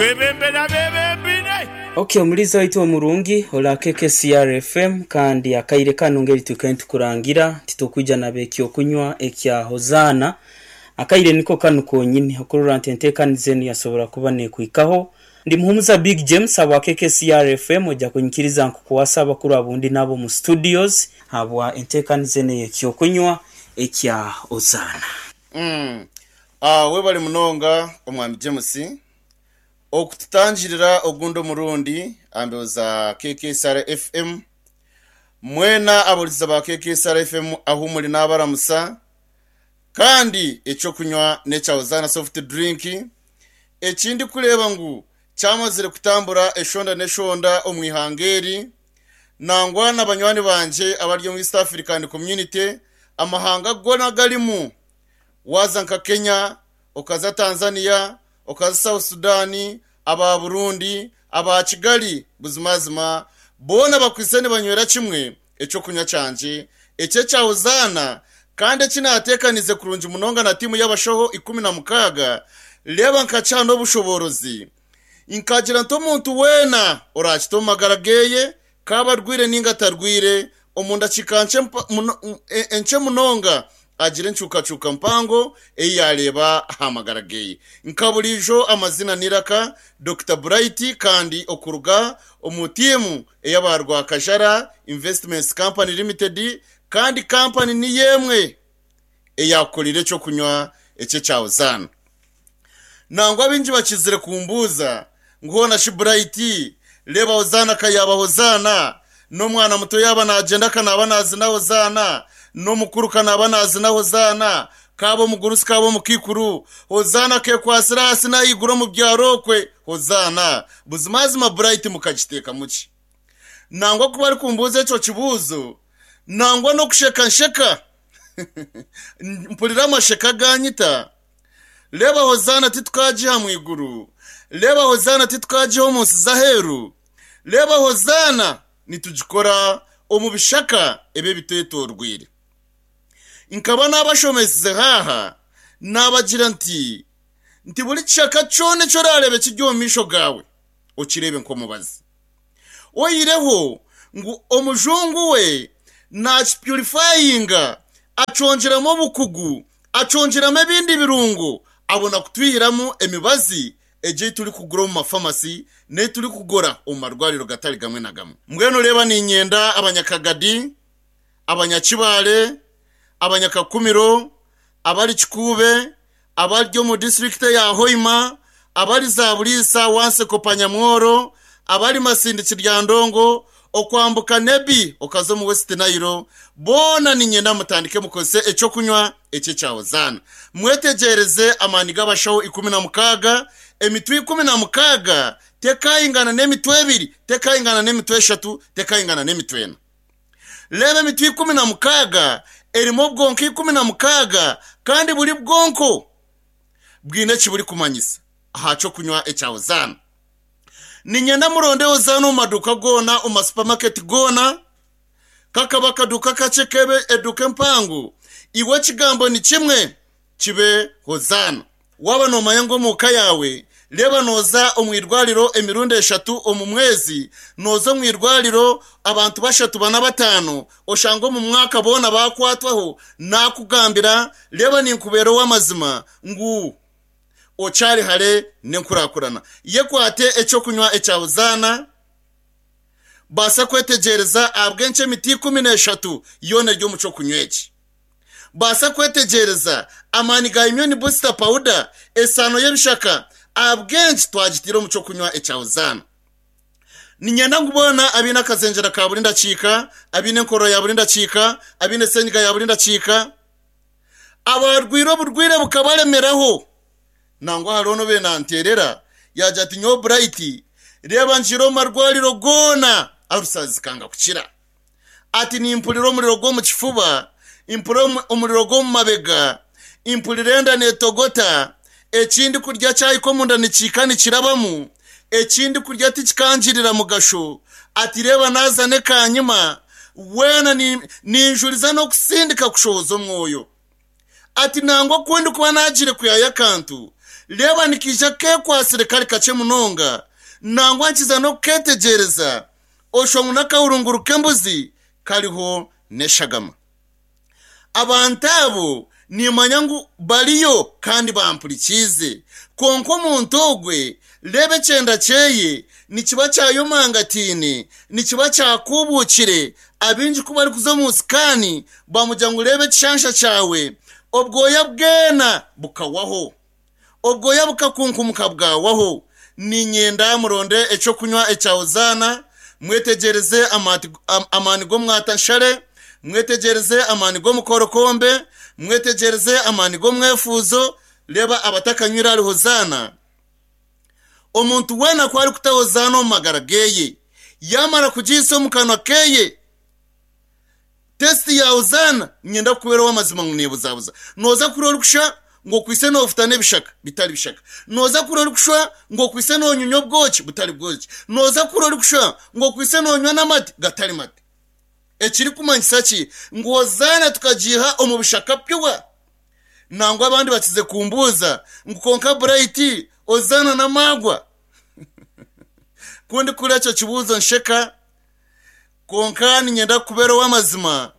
Kwebembera abeebembeire. Ok omuliiza waitu omurungi ora KKCR FM kandi akaire kanu ngeri twikaire nitukurangira nti tukwija naba ekyokunywa ekya Hozaana akaire niko kanu konyini okurora nti entekaniza enu yasobora kuba nekwikaho. Ndi Muhumuza Big James habwa KKCR FM oja kunyikiriza nkukwase abakuru abundi nabo omu studios habwa entekaniza enu eyekyokunywa ekya Hozaana. Umm webale munonga omwami James okututangirira ogundi omurundi aha mbeho za KKSR FM. Mwena abahurikiza ba KKSR FM ahu muri nabaramusa kandi ekyokunywa nekya Hosanna soft drink ekindikureeba ngu kyamazire kutambura eshonda n'eshonda omu ihanga eri nangwa na banywani bangye abari omu East African Community amahanga goona agarimu Waaza nka Kenya, okaza Tanzania, okaza South Sudan, aba Burundi, aba Kigali, buzimazima boona bakwaitse nibanywera kimwe eky'okunywa kyangye eki ekya Hozaana kandi eki naateekaniize kurungi munonga na tiimu y'abashaho 16, reeba nkakiha n'obushoboorozi nkagira nti omuntu weena oraakite omu magara ge K'abe arwaire nainga atarwaire, omu ndakiika nkye munonga agira encuukacuuka mpango ei yaareeba aha magara ge. Nka buriijo amaziina n'eiraka, Dokita Bright kandi okuruga omu tiimu ey'aba Rwakajara Investments Company Limited kandi kampani niyo emwe eyaakukoreire eky'okunywa eki ekya Hozaana. Nangwa baingi bakizire kumbuuza ngu hoona shi Bright, reeba Hozaana ka yaaba Hozaana, n'omwana muto yaaba naagyenda ka naaba naazina Hozaana, n'omukuru ka naaba naazina Hozaana, k'abe omugurusi k'abe omukaikuru, Hozaana akeekwatsire ahansi n'ahaiguru omu byaro okwe, Hozaana. Buzimazima Bright mukagiteekamu ki? Nangwa ku barikumbuuza ekyo kibuuzo, nangwa n'okusheka nsheka. Mpurira amasheka gaanyita. Reeba Hozaana titukagiha mu iguru, Reeba Hozaana titukagiha omu nsi z'aheeru, Reeba Hozaana nitugikora omu bishaka ebi ebitwetoorweire. Nkaba naabashomesize haaha, naabagira nti, nti buri kishaka kyona eki oraareebe kiri omu maisho gaawe, okireebe nk'omubazi. Oihireho ngu omujungu we naakipurifayinga, akyongyeramu obukugu, akyongyeramu ebindi birungo abona kutwihiramu emibazi egyo ei turikugura omu mafamasi n'ei turikugura omu marwariro gatari gamwe na gamwe. Mbwenu reeba niinyenda Abanyakagadi, Abanyakibaale, Abanyakakumiro, abari Kikuube, abari omu disiturikiti eya Hoima, abari Zaburiisa, Wanseko, Panyamworo, abari Masindi, Kiryandongo, okwambuka Nebbi okaza omu West Nile, boona niinyenda mutandike mukozese eky'okunywa eki ekya Hozaana. Mwetegyereze amaani g'abashaho 16, emitwe 16 tekaingana n'emitwe ebiri, tekaingana n'emitwe eshatu, tekaingana n'emitwe ena. Reeba emitwe 16 erimu obwonko 16 kandi buri bwonko bwine eki burikumanyisa aha ky'okunywa ekya Hozaana. Niinyenda muronde Hozaana omu maduuka goona, omu masupamaketi goona, kakaba akaduuka kakye kebe eduuka empango, iwe ekigambo ni kimwe, kibe Hozaana. Waaba noomanya ngu omu ka yaawe, reeba nooza omu irwariro emirundi eshatu omu mwezi, nooza omu irwariro abantu bashatu, bana, bataano, oshange omu mwaka boona baakwatwaho, naakugambira, reeba ninkubeera ow'amazima ngu okyari hare n'enkurakurana. Yekwate eky'okunywa ekya Hozaana, baasa kwetegyereza ahabw'enki emiti 13 yoona eri omu ky'okunywa eki. Baasa kwetegyereza amaani ga Immune Booster Powder, esaano y'ebishaka, ahabw'enki twagitaire omu ky'okunywa ekya Hozaana. Niinyenda ngu boona abaine akazengyera ka buri ndakiika, abaine enkorora ya buri ndakiika, abaine senyiga ya buri ndakiika, abaarwaire oburwaire bukabaremeraho, nangwa hariho n'obaire naanteerera yaagira ati, Nyowe Bright, reeba ngiire omu marwariro goona, alusazi zikanga kukira. Ati, Nimpurira omuriro gw'omu kifuba, mpurira omuriro gw'omu mabega, mpurira enda neetogota, eki ndikurya kyahika omunda nikihika nikirabamu, eki ndikurya tikikangirira mugasho. Ati, Reeba naaza n'ekaanyima, weena ninjuriza n'okusindika kushohoza omwoyo. Ati, Nangwa ku ndikuba naagiire kwihayo akantu, Reeba nikaija keekwatsire kari kakye munonga, nangwa nkiza n'okukeetegyereza, oshusha ngu n'akahurunguru k'embuzi kariho n'eshagama. Abantu abo nimmanya ngu bariyo kandi bampurikiize. Kwonka omuntu ogwe, reeba ekyenda kyeye nikiba kyayomangataine, nikiba kyakuubuukire. Abaingi ku barikuza omu sikaani bamugira ngu reeba ekishansha kyawe, obwoya bwena bukawaho. Obwoya bukakunkumuka bwawaho. Niinyenda muronde eky'okunywa ekya Hozaana, mwetegyereze amaani g'omwatanshare, mwetegyereze amaani g'omukorokombe, mwetegyereze amaani g'omwefuuzo. Reeba abatakanywire ahari Hozaana. Omuntu weena ku arikuta Hozaana omu magara ge, yaamara kugiihisa omu kanwa ke, Test ya Hozaana niinyenda kukubeera ow'amazima ngu neebuzabuza. Nooza kuhurira orikushwa ngu okwaitse noofutana ebishaka, bitari bishaka. Nooza kuhurira orikushwa ngu okwaitse noonyunya obwoki, butari bwoki. Nooza kuhurira orikushwa ngu okwaitse noonywa n'amate, gatari mate. Ekirikumanyisa ki? Ngu Hozaana tukagiiha omu bishaka pure. Nangwa abandi bakize kumbuuza ngu kwonka Bright, Hozaana n'amaagwa? Ku ndikuhurira ekyo kibuuzo nsheka. Kwonka niinyenda kukubeera ow'amazima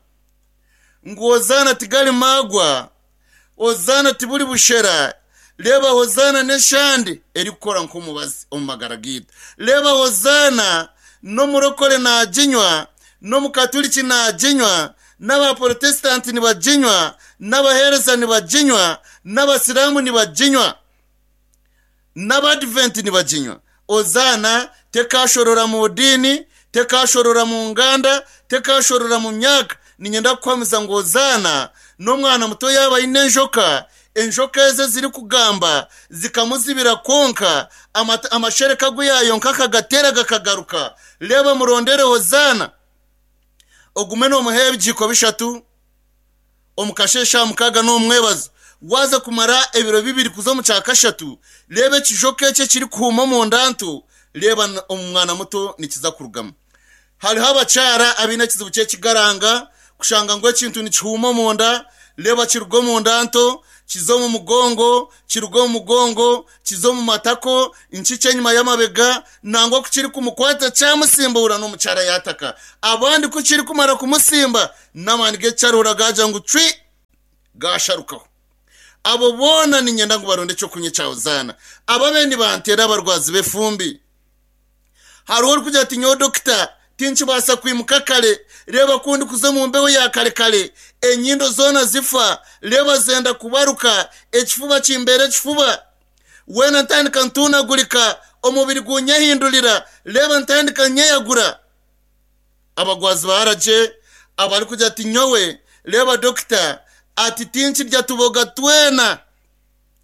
ngu Hozaana tigari maagwa, Hozaana tiburi bushera. Reeba Hozaana n'eshande erikukora nk'omubazi omu magara gaitu. Reeba Hozaana n'omurokore naaginywa, n'omukaturiki naaginywa, n'abaporotesitanti nibaginywa, n'abaheereza nibaginywa, n'abasiraamu nibaginywa. N'Abaadiventi nibaginywa. Ozaana tekaashorora mu diini, tekaashorora mu nganda, tekaashorora mu myaka. Niinyenda kukuhamiza ngu Ozaana n'omwana muto yaaba aine enjoka, enjoka ezo ezirikugamba zikamuzibira kwonka amashereka agu yaayonka akagateera gakagaruka. Reeba murondere Hozaana. Ogume noomuha ebigiiko bishatu. Omu kasheeshe aha mukaaga n'omu mwebazo, waaza kumara ebiro bibiri kuza omu kyakashatu, reeba ekijoka eki ekirikuhuuma omu nda nto, reeba omu mwana muto nikiza kurugamu. Hariho abakyara abaine ekizibu ky'ekigaranga, kushanga ngu ekintu nikihuuma omu nda, reeba kiruga omu nda nto, kiza omu mugongo, kiruga omu mugongo, kiza omu matako, nkikye enyima y'amabega, nangwa ku kirikumukwata kyamusimbuura n'omukyara yaataka. Abandi ku kirikumara kumusimba, n'amaani g'ekicaruhura gaagira ngu cwi, gaasharukaho. Abo boona niinyenda ngu baronde eky'okunywa ekya Hozaana. Ababe nibanteera abarwazi b'efumbi. Hariho orikugira ati, Nyowe dokita, tinkibaasa kwimuka kare. Reeba ku ndikuza omu mbeho ya kare kare, enyindo zoona zifa, reeba zenda kubaruka, ekifuba kimbeera ekifuba. Weena ntandika ntuunagurika, omubiri guunyehindurira, reeba ntandika nyeyagura. Abagwazi ba aragye abarikugira ati, Nyowe, reeba dokita, ati tinkirya tuboga twena.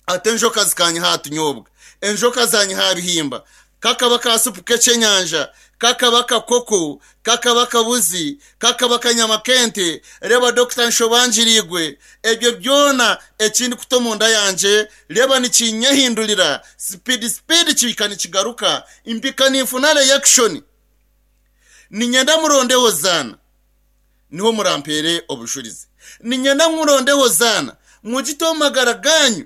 Ati enjoka zikanyiha aha tunyobwa, enjoka zanyiha aha bihimba, kakaba ka supu k'ekyenyanja, kakaba kakoko, kakaba kabuzi, kakaba kanyama k'ente, reeba dokita nshobangiriigwe, ebyo byona eki ndikuta omunda yangye, reeba nikinyehindurira, sipidi sipidi kihika nikigaruka, mpika ninfuna reyakishoni. Niinyenda muronde Hozaana. Niho murampeere obujurizi. Niinyenda ngu muronde Hozaana, mugite omu magara gaanyu,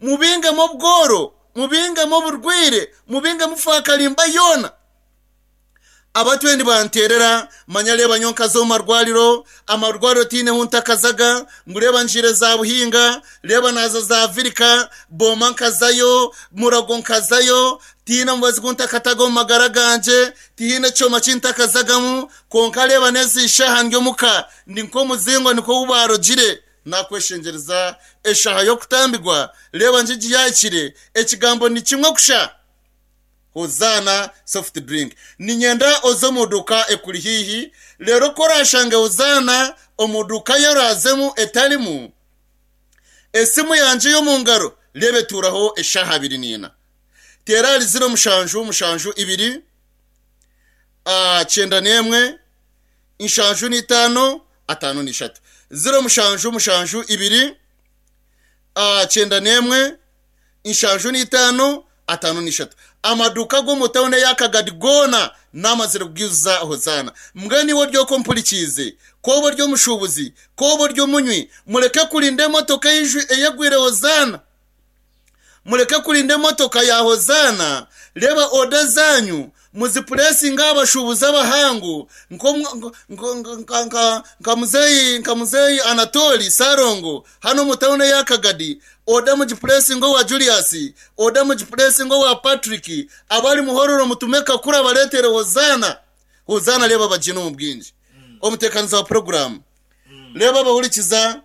mubingemu obworo, mubingemu oburwaire, mubingemu faakarimba yoona. Abatwire nibanteerera, manya reeba nyowe nkaza omu marwariro, amarwariro tihaine hu ntakazaga, ngu reeba ngiire za Buhinga, reeba naaza za Virika, Booma nkazayo, Murago nkazayo, tihaine mubazi gu ntakataga omu magara gangye, tihaine kyoma ki ntakazagamu, Kwonka reeba n'ezi shaaha ndi omuka, ndi nk'omuzingo nikwo ou baarogire. Naakweshengyereza eshaaha y'okutambirwa, reeba ngigi yaahikire, ekigambo ni kimwe kusha, Hozaana soft drink. Niinyenda oze omu duuka ekuri haihi, reero ku oraashange Hozaana omu duuka ei oraazemu etarimu, esimu yangye ey'omu ngaro reeba etuuraho eshaaha abiri n'ina. Teera ahari ziro mushanju mushanju ibiri. 91 75 53 0 mushanju mushanju ibiri 91 75 53 Amaduuka ag'omu tauni eya Kagadi goona naamazire kugaijuza Hozaana. Mbwenu iwe ori okwo ompurikiize, ku oba ori omushuubuzi, ku oba ori omunywi, mureke kurinda emotoka eyegwire Hozaana. Mureke kurinda emotoka ya Hozaana, reeba oda zaanyu muzipuresinge aha bashuubuzi abahangu nka muzeeyi nka muzeeyi Anatoli Ssalongo hanu omu tauni eya Kagadi, oda mugipuresinge owa Julius, oda mugipuresinge owa Patrick, abari Muhororo mutume Kakuru abareetere Hozaana. Hozaana reeba bagiine omu bwingi. Omuteekaniza wa puroguraamu, reeba abahurikiza,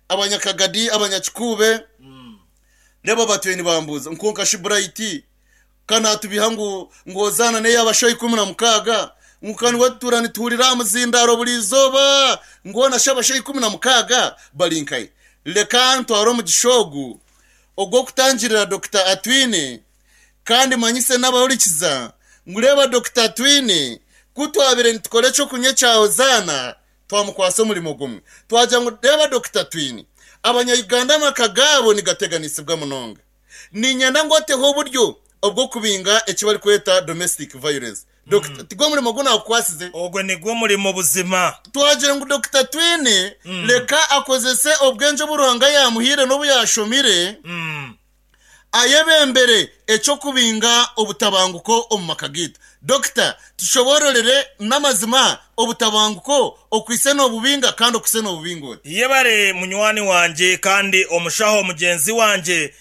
Abanyakagadi, Abanyakikuube, reeba batwire nibambuuza ngu kwonka shi Bright ka naatubiha ngu ngu Hozaana n'ey'abashaho 16, ngu ka niwe tutuura nituhurira aha muzindaaro buri izooba, ngu hoona shi abashaho 16 bari nkahi? Reka ntware omugisha ogu ogw'okutangirira Dokita Atwine Kandi manyise n'abahurikiza ngu reeba Dokita Atwine, ku twabaire nitukora eky'okunywa ekya Hozaana, twamukwatsa omurimo gumwe. Twagira ngu reeba Dokita Atwine, Abanya-Uganda amaka gaabo nigateganisibwa munonga. Niinyenda ngu oteho oburyo obw'okubinga eki barikweta domestic violence. Dokita, tigwo murimo ogu naakukwatsize? Ogwo nigwo murimo buzima. Twagira ngu Dokita Atwine reka akozese obwengye obu Ruhanga yaamuhaire n'obu yaashomire, Ayebembere eky'okubinga obutabanguko omu maka gaitu. Dokita, tushoboororere n'amazima obutabanguko okwitse noobubinga kandi okwitse noobubinga ota? Yebare munywani wangye kandi omushaho mugyenzi wangye.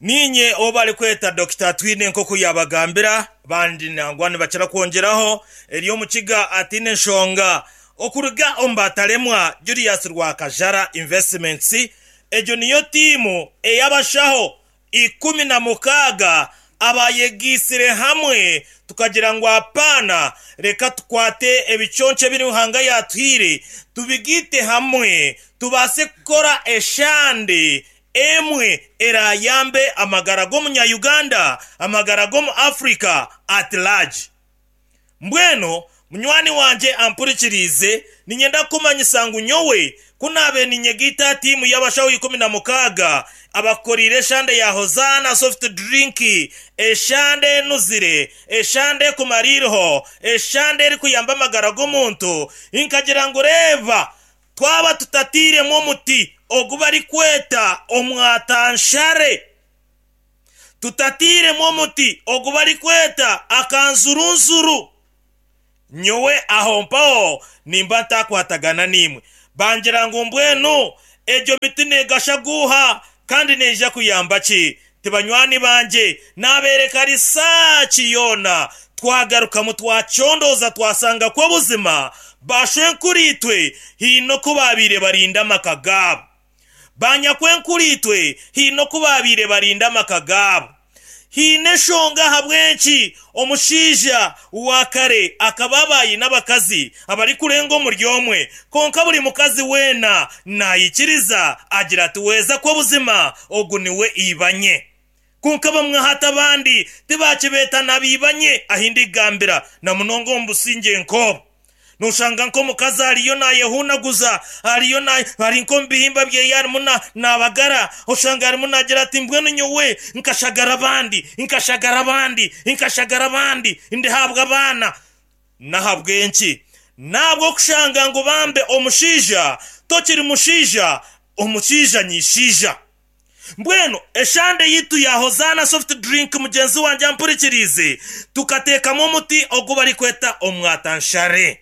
Niinye ou barikweta Dokita Atwine nk'oku yaabagambira. Abandi nangwa nibakira kwongyeraho ery'omukiga ataine nshonga. Okuruga omu bataremwa Julius Rwakajara Investments Egyo niyo tiimu ey'abashaho 16 abayegaitsire hamwe tukagira ngu apaana reka tukwate ebiconco ebi Ruhanga yaatuhaire tubigaite hamwe tubaase kukora eshande emwe eraayambe amagara g'omunya-Uganda, amagara g'omu Africa at large. Mbwenu, munywani wangye ampurikiriize, niinyenda kukumanyisa ngu nyowe ku naabaire ninyegaita aha tiimu y'abashaho 16 abakukoreire eshande ya Hozaana Soft Drink, eshande enuzire, eshande ekumara eiriho, eshande erikuyamba amagara g'omuntu, nkagira ngu reeba, twaba tutatairemu omuti ogu barikweta omwatanshare. Tutatairemu omuti ogu barikweta akanzurunzuru. Nyowe aho mpaho nimba ntakwatagana naimwe. Bangira ngu mbwenu egyo miti neegasha guuha kandi neija kuyamba ki? Ti banywani bangye, naabeereka risaaki yoona. Twagarukamu twacondooza twasanga ku obuzima baashwenkuriitwe haine oku baabaire barinda amaka gaabo. Banyakwenkuriitwe haine oku baabaire barinda amaka gaabo. Haine enshonga ahabw'enki omushaija wa kare akaba aba aine abakazi abarikurenga omuri omwe, kwonka buri mukazi weena naikiriza agira ati, Weeza kwo buzima ogu niwe ibanye. Kwonka bamwe hati abandi tibaakibeeta na baibanye ahi ndigambira, na munonga omu busingye nk'obu. Nooshanga nk'omukazi ariyo naayehuunaguza, ariyo na, ari nk'omu bihimba byeye arimu na, naabagara, oshanga arimu naagira ati, Mbwenu nyowe nkashagara abandi, nkashagara abandi, nkashagara abandi, ndihaabwa abaana. N'ahabw'enki? N'ahabw'okushanga ngu bambe omushaija tokiri mushaija, omushaija nyishaija. Mbwenu eshande yaitu ya Hozaana Soft Drink mugyenzi wangye ampurikiriize, tukateekamu omuti ogu barikweta omwatanshare.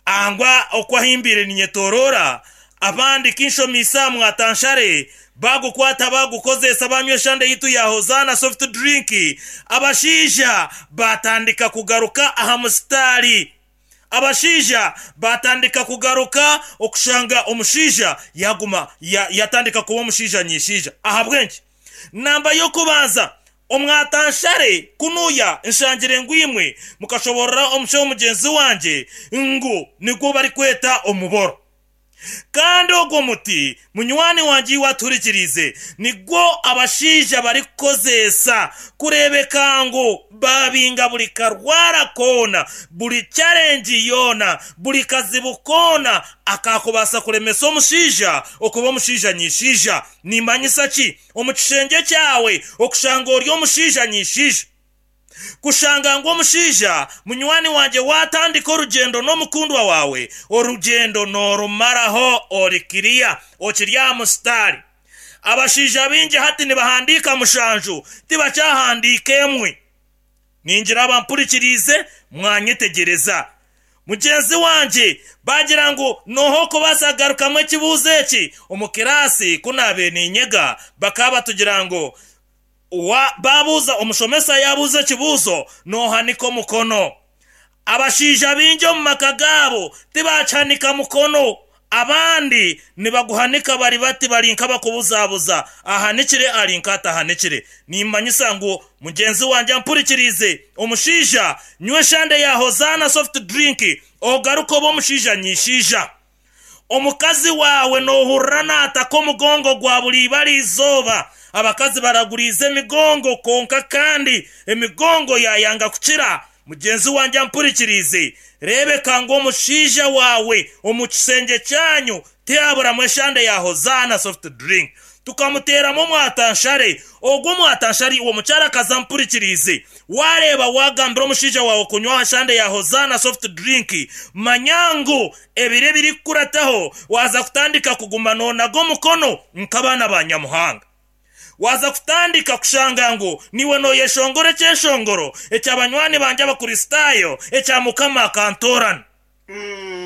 Angwa oku ahimbiire ninyetoroora, abandi kinshomiise aha mwatanshare, baagukwata baagukozeesa baanywa eshande yaitu ya Hozaana Soft Drink, abashaija baatandika kugaruka aha musitaari. Abashaija baatandika kugaruka okushanga omushaija yaaguma yatandika kuba omushaija nyishaija. Ahabw'enki? Namba y'okubanza, omwatanshare kunuya nshangire ngu imwe mukashoboorora omushaho mugyenzi wangye ngu nigwo barikweta omuboro. Kandi ogwo muti, munywani wangye iwe atuhurikiriize, nigwo abashaija barikukozeesa kureebeka ngu baabinga buri karwara koona, buri challenge yoona, buri kazibu koona akaakubaasa kuremesa omushaija okuba omushaija nyishaija. Nimanyisa ki? Omu kishengye kyawe okushanga ori omushaija nyishaija. Kushanga ngu omushaija munywani wangye waatandika orugyendo n'omukundwa waawe, orugyendo noorumaraho ori kiriya, okiri aha musitaari. Abashaija baingi hati nibahandiika mushanju, tibakyahandiika emwe. Ningira abampurikiriize mwanyetegyereza. Mugyenzi wangye baagira ngu nooha orikubaasa kugarukamu ekibuuzo eki? Omu kiraasi ku naabaire niinyega, bakaba batugira ngu baabuuza omushomesa yaabuuza ekibuuzo, noohanika omukono. Abashaija baingi omu maka gaabo tibaakihanika mukono. Abandi nibaguhanika bari bati bari nk'abakubuzabuza, ahanikire ari nk'atahanikire. Nimmanyisa ngu mugyenzi wangye ampurikiriize, omushaija, nywa eshande ya Hozaana soft drink ogaruke obe omushaija nyishaija. Omukazi waawe noohurira naataka omugongo gwa buri ibara izooba. Abakazi baraguriize emigongo kwonka kandi emigongo yaayanga kukira. Mugyenzi wangye ampurikiriize, reebeka ngu omushaija waawe omu kishengye kyanyu tihaburamu eshande ya Hozaana soft drink. Tukamuteeramu omwatanshare. Ogwo omwatanshare iwe omukyarakazi ampurikiriize, waareeba waagambira omushaija waawe kunywa aha shande ya Hozaana soft drink, manya ngu ebiro ebirikukurataho waaza kutandika kuguma noonaga omukono nk'abaana ba Nyamuhanga. Waaza kutandika kushanga ngu niiwe nooyeshongora ekyeshongoro ekya banywani bangye Abakristaayo ekya Mukama akantoorana.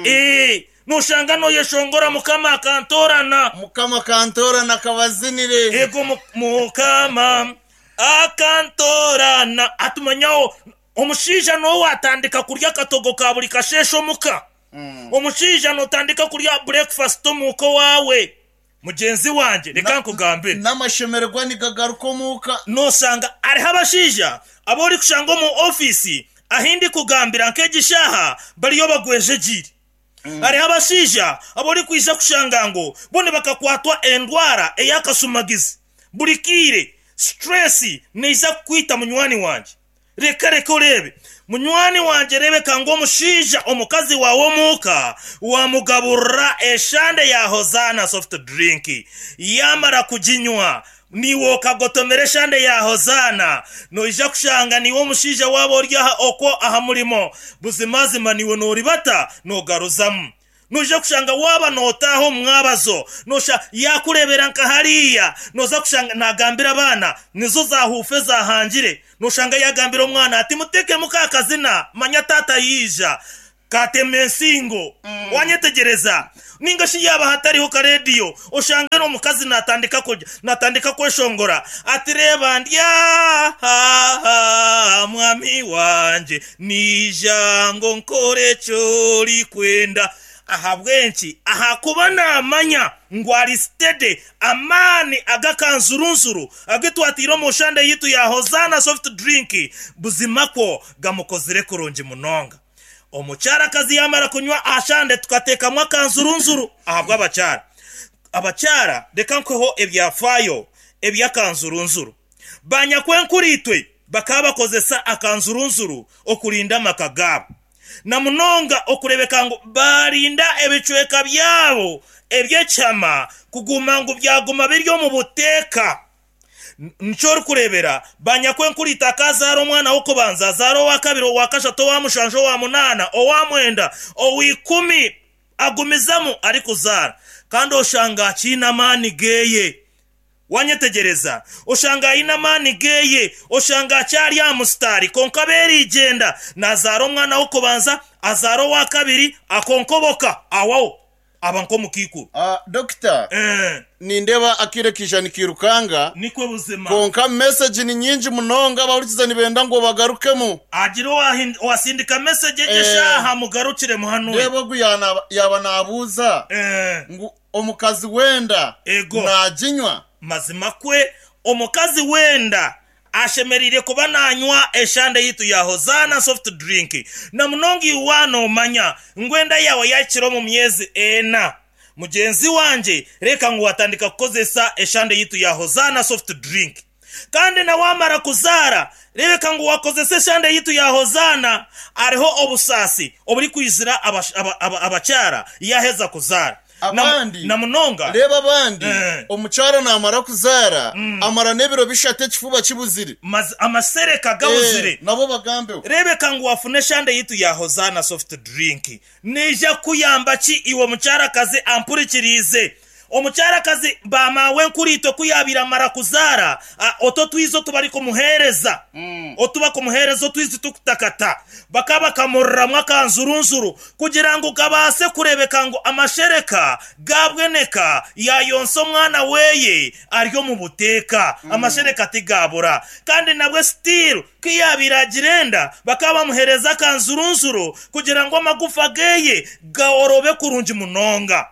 Ee, nooshanga nooyeshongora Mukama akantoorana. Mukama akantoorana akabazinire. Ego Mukama akantoorana. Hati manyaho omushaija n'ou waatandika kurya akatogo ka buri kasheeshe omuka. Omushaija nootandika kurya bureekufasiti omuka owaawe. Mugyenzi wangye, reka nkugambire. N'amashemererwa nigagaruka omuka. Nooshanga hariho abashaija abu orikushanga omu ofiisi ahu ndikugambira nk'egi shaaha bariyo bagwejegyeire. Hariho abashaija abu orikwija kushanga ngu bo nibakakwatwa endwara ey'akashumagizi. Buri kaire stress neija kukwita munywani wangye. Reka reka oreebe. Munywani wangye rebeka ngu omushaija omukazi waawe omuuka wamugaburira eshande ya Hozaana soft drink yamara kuginywa niiwe okagotomera eshande ya Hozaana noija kushanga niiwe omushaija waaba ori aha okwo aha murimo buzimazima niiwe noribata nogaruzamu. Noija kushanga waaba nootaaha omu mwabazo, nosha yaakureebera nka hariya, nooza kushanga naagambira abaana, nizo zaahuufa ezaahangire. Noshanga yaagambira omwana ati, Muteekemu ka kazina, manya taata yaija. Kaatema ensingo. Waanyetegyereza? Nainga shi yaaba hatariho kareediyo, oshange omukazi naatandika kurya, naatandika kweshongora ati, Reeba ndi aha, mwami wangye. Naija ngu nkore eki orikwenda. Ahabw'enki? Ahakuba naamanya ngu ari steady. Amaani ag'akanzurunzuru agu twataire omu nshande yaitu ya Hozaana Soft Drink buzima kwo gamukozire kurungi munonga. Omukyarakazi yaamara kunywa aha shande tukateekamu akanzurunzuru ahabw'abakyara. Abakyara reka nkuheho ebyafaayo eby'akanzurunzuru. Banyakwenkuriitwe bakaba bakozesa akanzurunzuru okurinda amaka gaabo, na munonga okureebeka ngu baarinda ebicweka byabo eby'ekihama kuguma ngu byaguma biri omu buteeka. Nikyo orikureebera banyakwenkuriitwe akaazaara omwana w'okubanza, azaara owakabiri, owakashatu, owamushanju, owamunaana, owamwenda, owaikumi, agumizamu arikuzaara kandi oshanga akiine amaani geeye. Wanyetegyereza? Oshanga aine amaani geye, oshanga akyari aha musitaari, kwonka abeerigyenda, naazaara omwana w'okubanza, azaara owa kabiri, akonkoboka, ahwaho, aba nk'omukaikuru. Dokita, nindeeba akaire kaija nikairukanga, Nikwo buzima. kwonka mesegi ni nyingi munonga, abahurikiza nibenda ngu obagarukemu. Hagire owasindika mesegi egi eshaaha, mugarukiremu hanu. Reeba ogu yaaba naabuuza ngu Omukazi w'enda Ego. naaginywa? Mazima kwe, omukazi w'enda ashemereire kuba naanywa eshande yaitu ya Hozaana Soft Drink. Na munonga iwe waaba noomanya ngu enda yaawe yaahikire omu myezi ena. Mugyenzi wangye, reeka ngu waatandika kukozesa eshande yaitu ya Hozaana Soft Drink. Kandi na waamara kuzaara, reebeka ngu waakozesa eshande yaitu ya Hozaana. Hariho obusaasi oburikwizira abakyara yaaheza kuzaara. Abandi, Na munonga. Reeba abandi, omukyara naamara kuzaara, amara n'ebiro bishatu ekifuba kibuzire. Amasereka gabuzire. Nabo bagambeho. Reebeka ngu waafuna eshande yaitu ya Hozaana Soft Drink. Neija kukuyamba ki iwe mukyarakazi ampurikiriize? Omukyarakazi ba maawenkuriitwe ku yaabaire amara kuzaara, otu otwizi otu barikumuheereza, otu bakumuheereza otwizi tukutakata, bakaba bakamuriramu akanzurunzuru kugira ngu kabaase kureebeka ngu amashereka gaabweneka yaayonsa omwana we ari omu buteeka. Amashereka tigaabura. Kandi nabwe still ku yaabaire agira enda, bakaba bamuheereza akanzurunzuru kugira ngu amagufa ge gaorobe kurungi munonga.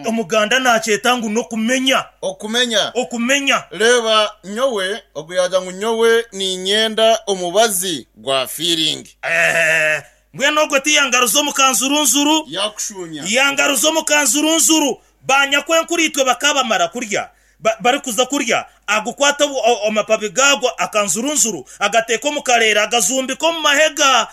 Omuganda naakyeta ngu n'okumenya. Okumenya. Okumenya. Reeba nyowe, ogu yaagira ngu nyowe niinyenda omubazi gwa fiiringi. Eeh, mbwenu ogwo tiyangaruza omu kanzurunzuru? Yaakushuumya. Yangaruza omu kanzurunzuru. Banyakwenkuriitwe bakaba bamara kurya, ba, barikuza kurya, agukwata amapabi gaagwo akanzurunzuru, agateeka omu kareera, agazumbika omu mahega.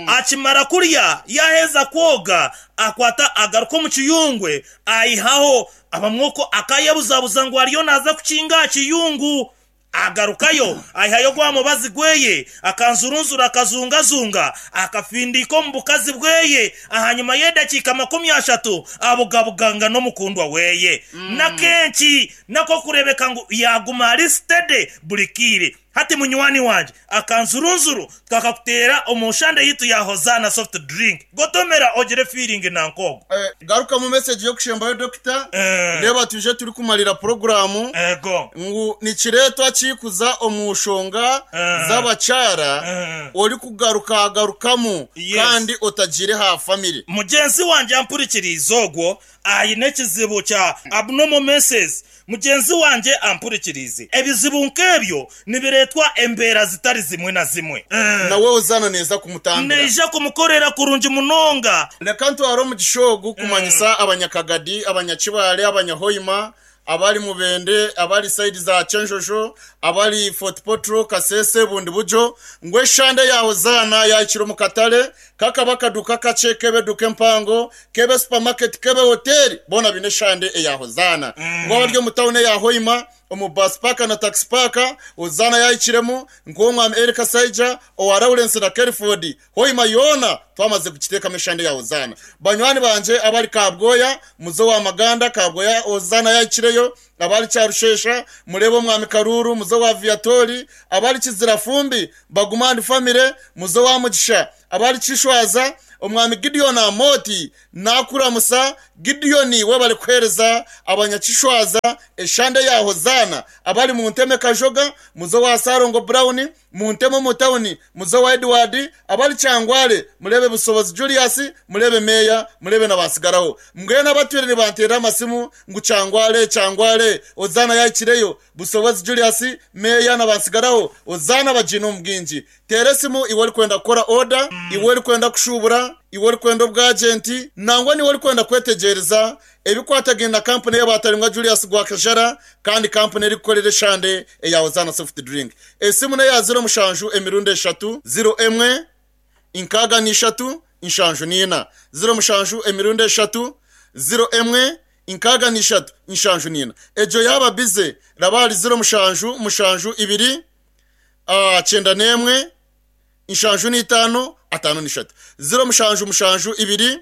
Akimara kurya, yaaheza kwoga, akwata agaruka omu kiyungwe, aihaho abamwe okwo akaayebuzabuza ngu ariyo naaza kukinga aha kiyungu. Agarukayo, aihayo gwa mubazi gweye, akanzurunzura akazungazunga, akafindiika omu bukazi bweye. Ahanyima y'edakiika 30, abugabuganga n'omukundwa weye. N'akenki n'ak'okureebeka ngu yaaguma ari steady buri kaire. Hati munywani wangye, akanzurunzuru twakakuteera omu nshande yaitu ya Hosanna Soft Drink. Gotomera ogire feeling nanka ogwo. Garukamu message y'okushembayo Dokita, reeba twije turikumarira puroguraamu ngu nikireetwa ki kuza omu nshonga z'abakyara orikugarukagarukamu kandi otagiire aha family. Mugyenzi wangye ampurikiriize ogwo aine ekizibu kya abnormal menses Mugyenzi wangye ampurikiriize. Ebizibu nk'ebyo nibireetwa embeera zitari zimwe na zimwe. Nawe Hozaana neeza kumutambira. Neija kumukorera kurungi munonga. Reka ntware omugisha ogu kumanyisa Abanyakagadi, Abanyakibaale, Abanyahoima, abari Mubende, abari sayidi za Kyenjojo, abari Fort Portal, Kasese, Bundibugyo, ngu eshande ya Hozaana yahikire omu katare, Kakaba akaduuka kakye, k'ebe eduuka empango, k'ebe supamaketi, k'ebe hoteeri, boona baine eshande eya Hozaana. Ngu abari omu tauni eya Hoima, omu baasi paaka na takisi paaka, Hozaana yaahikiremu, nk'ow'omwami Eli Kasaija, owa Lawrence na Kelford. Hoima yoona twamaze kugiteekamu eshande ya Hozaana. Banywani bangye abari Kabwoya, muze owa Maganda, Kabwoya Hozaana yaahikireyo, Abari Kyarushesha, mureebe Omwami Karuuru, muze owa Viatori, abari Kizirafumbi, Baguma and family, muze owa Mugisha, abari Kishwaza, Omwami Gideon Amooti nakuramusa, Gideon webare kuhereza abanyakishwaza eshande ya Hozaana, abari Munteme Kajoga, muze owa Salongo Brown, Munteme omu tawuni, muze owa Edward, abari Kyangwale, mureebe Busobozi Julius, mureebe Meeya, mureebe na Batsigaraho. Mbwenu abatwire nibanteerera amasimu ngu Kyangwale, Kyangwale, Hozaana yahikireyo, Busobozi Julius, Meeya na Batsigaraho, Hozaana bagiine omu bwingi. Teera esimu iwe orikwenda kukora oda, iwe orikwenda kushuubura, iwe orikwenda obwajenti, nangwa n'iwe orikwenda kwetegyereza ebikwatagaine na kampuni ey'abaataringwa Julius Gwakajara kandi kampuni erikukorera eshande eya Hozaana Soft Drink. Esimu n'eya 07 emirundi eshatu, 0 1 63 74. 07 emirundi eshatu, 0 1 63 74. Egyo yaaba bize, raba ahari 07 7 2 91 75 53. 07 7 2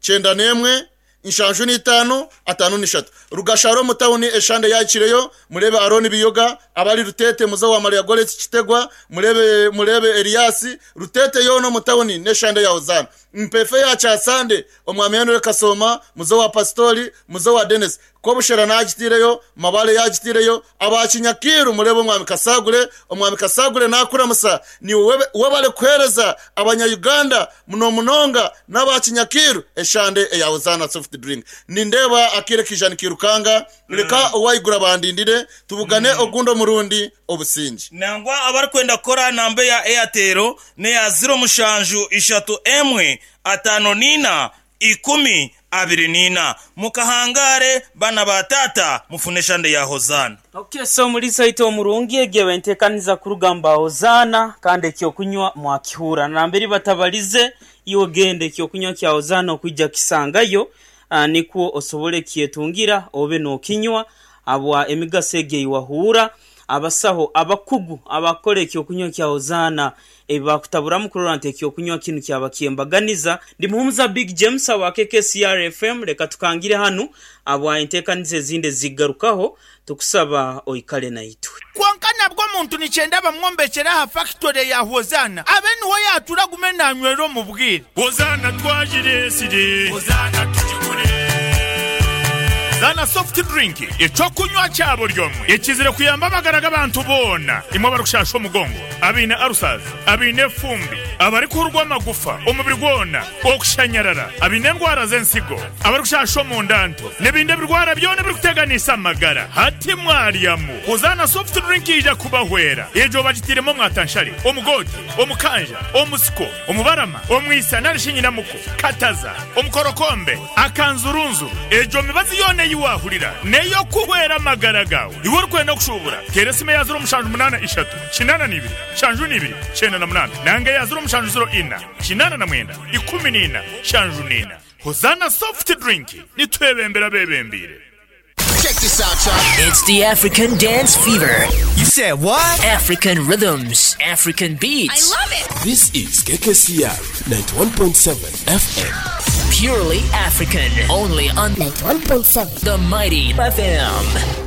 91 75 53. Rugashara omu tauni eshande yahikireyo, mureebe Arooni Biyoga, abari Rutete, muze owa Maria Goreti Kitegwa, mureebe mureebe Eliasi, Rutete yoona omu tauni n'eshande ya Hozaana. Mpeefe ya Kyasande, Omwami Henry Kasooma, muze owa Pasitori, muze owa Denis. Kobushera naagitaireyo, Mabale yaagitaireyo, aba Kinyakiiru mureebe Omwami Kasagure, Omwami Kasagure naakuramusa, niiwe webale kuheereza abanya Uganda munomunonga n'aba Kinyakiiru eshande eya Hosanna Soft Drink. Nindeeba akaire kaija nikairukanga, reka owaiguru abandindire tubugane ogundi omurundi. Obusingye. Nangwa abarikwenda kukora aha namba eya Airtel n'eya 07 3 1 54 10 24. Mukahangaare bana ba taata mufune eshande ya Hozaana. Ok so omuriisa waitu omurungi egyo eba entekaniza kuruga mba Hozaana kandi ekyokunywa mwakihuura namberi batabalize iwe genda ekyokunywa kya Hozaana okwija kisangayo nikwo osobole kyetungira obe nokinywa habwa emigaso egyo eyiwahuura. Abasaho abakugu abakukora eky'okunywa kya Hozaana ebi baakutaburamu kurora nti eky'okunywa kinu kyaba ky'embaganiza. Ndi Muhumuza Big James awa KKCR FM, leka tukangire hanu ahabwa enteekaniza ezindi ezigarukaho, tukusaba oikale naitwe. Kwonka nabwo omuntu nikyenda bamwombekyere aha fakitore ya Hozaana abe niho yaatura agume naanywera omu bwire. Hozaana twagireetsire. Hozaana tugigure. Zaana Soft Drink, eky'okunywa kya buri omwe ekizire kuyamba amagara g'abantu boona. Imwe abarikushasha omugongo, abaine ulcers, abaine efumbi, abarikuhurwa amagufa omubiri gwona, okushanyarara, abaine endwara z'ensigo, abarikushasha omunda nto, n'ebindi ebirwara byona ebirikuteganisa amagara. Hati mwaryamu. Hozaana Soft Drink yaija kubahwera. Egyo bagitairemu omwatanshare, omugoote, omukanja, omusiko, omubarama, omwisa nari shi nyinamuko, kataza, omukorokombe, akanzurunzuru. Egyo mibazi yoona ei waahurira n'ey'okuhwera amagara gaawe. Iwe orikwenda kushuubura, teera esimu eya ziro mushanju munaana ishatu, kinaana na ibiri, nshanju na ibiri, kyenda na munaana nanga eya ziro mushanju ziro ina, kinaana na mwenda, ikumi na ina, nshanju na ina. Hozaana Soft Drink, nitwebembera abeebembeire. Check this out, y'all. It's the African Dance Fever. You said what? African rhythms, African beats. I love it. This is KKCR 91.7 FM. Purely African. Only on 91.7 the Mighty FM.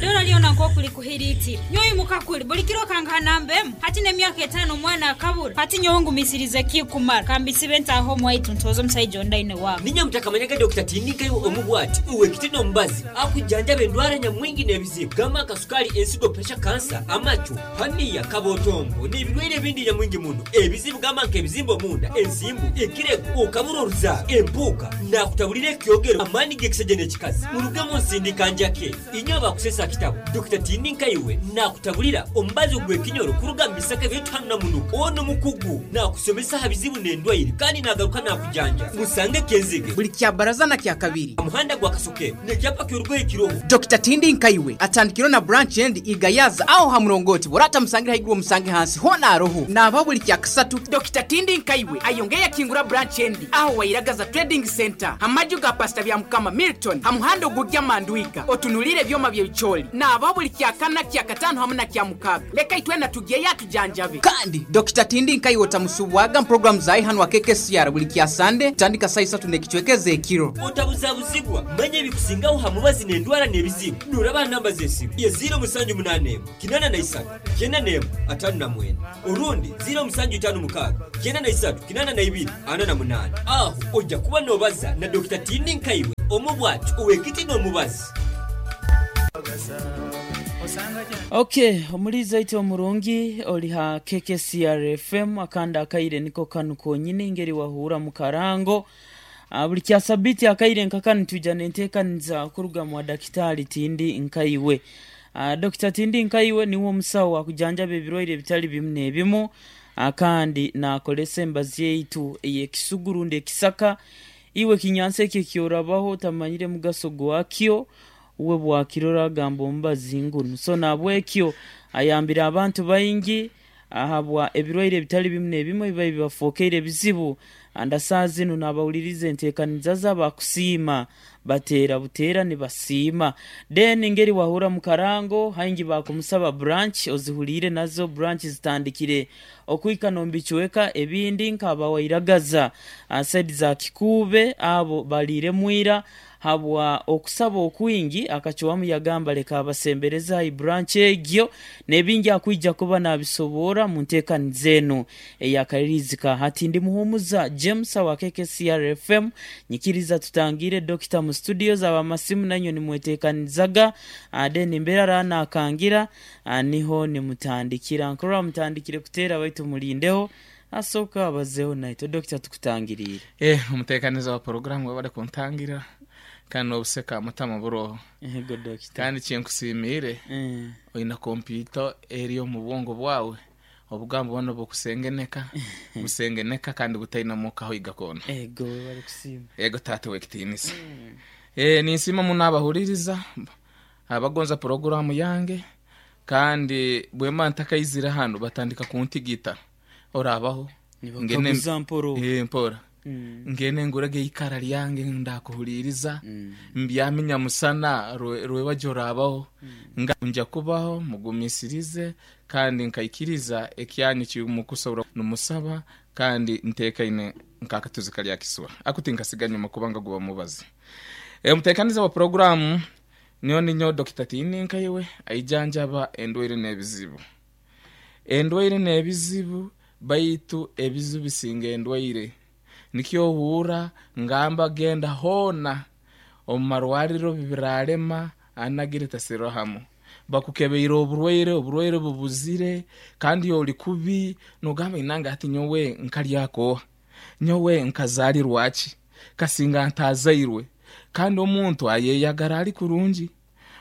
Dora lyona nk'oku likuhiriitire. Nyowe imuka kuri, buri kiro okangaha namba emwe. Hati n'emyaka etaano omwana akabura. Hati nyowe ngumisirize kikumara. Ka mbisibe ntaahe omu waitu ntooze omusaija ondi aine waabo. Niinye mutakamanyaga Dokita Tindinkayo omu bwati, ow'ekiti n'omubazi, akujanjaba endwara nyamwingi n'ebizibu gamba nka sukaali, ensigo, puresha, kansa, amacu, haniya, kabotombo n'ebirwaire ebindi nyamwingi muno. Ebizibu gamba nk'ebizimba omunda, ensimbu, ekirego, okabura oruzaaro, empuuka, naakutaburira ekyogero, amaani g'ekisaija n'ekikazi. Murugemu nsindika njake. Inywe abakusesa kitabo, Dokita Tindinkayo naakutaburira omubazi ogw'ekinyoro kuruga mu bisaka byaitu hanu Namunuka. Onu mukugu, naakusomesa aha bizibu n'endwaire kandi naagaruka naakujanja. Musange Kenzige. Buli Kyabaraza na Kyakabiri. Aha muhanda gwa Kasokero n'ekyapa ky'orugoye kiroho. Dokita Tindinkayiwe atandikirwe na branch endi Igayaza aho ha murongoti bw'oraba otamusangire haiguru omusange hansi hoona aroho. Naabaho buli Kyakasatu. Dokita Tindinkayiwe ayongeire yakingura branch endi aho Wairagaza Trading Centre ha maju ga Pastor Byamukama Milton ha muhanda ogugya Mandwiga otunuliire ebyoma by'ebicoori. Naabaho buli Kyakana, Kyakataano hamu na Kyamukaaga. Leka itwena tugyeyo atujanjabe. Kandi Dokita Tindi nkaiwe otamusubwaga mu puroguramu zaaye hanu aha KKCR buli kya Sande kutandika saaha isatu n'ekicweka ez'ekiro. Otabuzabuzibwa, manya ebikusingaho ha mubazi n'endwara n'ebizibu. Nooraba aha namba z'esimu ye ziiro musanju munaana emwe, kinaana na isatu, kyenda n'emwe, ataano na mwenda orundi ziiro musanju itaano mukaaga, kyenda na isatu, kinaana na ibiri, ana na munaana. Aho oija kuba noobaza na Dokita Tindi Nkaiwe, omu bwati ow'ekiti n'omubazi. Ok, omuliiza oitu omurungi ori ha KKCR FM akandi akaire niko kanu konyini ngeri wahuura mu karango. Buri kya sabiiti akaire nka kanu twija n'enteekaniza kuruga mwa Dakitaali Tindi Nkaiwe. Dokita Tindi Nkaiwe niwe omusawo akujanjaba ebirwaire ebitari bimu n'ebimu kandi naakoresa embazi yaitu ey'ekisugu rundi ekisaka. Iwe ekinyansi eki eki orabaho otamanyire mugaso gwakyo, uwe bwakirora agamba omubazi ngunu. So nahabwekyo ayambire abantu baingi ahabwa ebirwaire ebitali bimu n'ebimu ebibaire bibafookeire ebizibu. Anda saaha zinu nabahuliriza enteekaniza ze abakusiima bateera buteera nibasiima. Then engeri wahurra mu karango haingi baakumusaba branch ozihuliire nazo branch zitandikire okuhika n'omu bicweka ebindi nka abawairagaza side za Kikuube abo baliiremu ira Habwa okusaba okwingi, akacwamu yagamba leka abasembereze aha branch egyo n'ebingi akwija kuba nabisoboora mu nteekaniza enu ey'akaririizi ka hati. Ndi Muhumuza James owa KKCR FM, nyikiriza tutangiire Dokita mu studios, ab'amasimu nainywe nimweteekanizaga, then embeera ara nakangira niho nimutandikira. Nkurora mutandikire kuteera baitu mulindeho Asooke abazeho naitwe. Dokita tukutangiriire. Eh, omuteekaniza wa poroguramu webale kuntangirira kandi n'obuseka mutama buroho. Ego Dokita. Kandi kinkusiimiire oine kompyuta eri omu bwongo bwawe obugambo bwona obukusengeneka busengeneka kandi butaine muka hoiga koona. Ego webale kusiima. Ego taata ow'ekitiinisa. Eh, ninsiima muno abahuririza abagonza poroguramu yange kandi bwemba ntakaizire hanu batandika kuntigita. Oraabaho? Nibakaguza mpora obu. Ee, mpora. Ngende ngurege eikara ryange ndakuhuriiriza, mbyame nyamusana rwebagyo oraabaho. Nga nja kubaho mugumisirize kandi nkaikiriza ekyanyu eki mukusobora nimusaba kandi nteekaine nk'akatuzi kari aha kiswa. Aku tinkasiga nyima kubanga guba mubazi. Omuteekaniza wa puroguraamu nyowe ninyowe Dokita Tiininkaiwe aijanjaba endwaire n'ebizibu. Endwaire n'ebizibu baitu ebizibu bisinga endwaire. Nikyo ohurra ngamba genda hoona omu marwariro bibirarema anagire tasirohamu. Bakukebeire oburwaire, oburwaire bubuzire kandi ori kubi nogamba inange hati nyowe nkaryaka oha? Nyowe nkazarirwa ki? Kasinga ntazairwe. Kandi omuntu ayeyagara ari kurungi.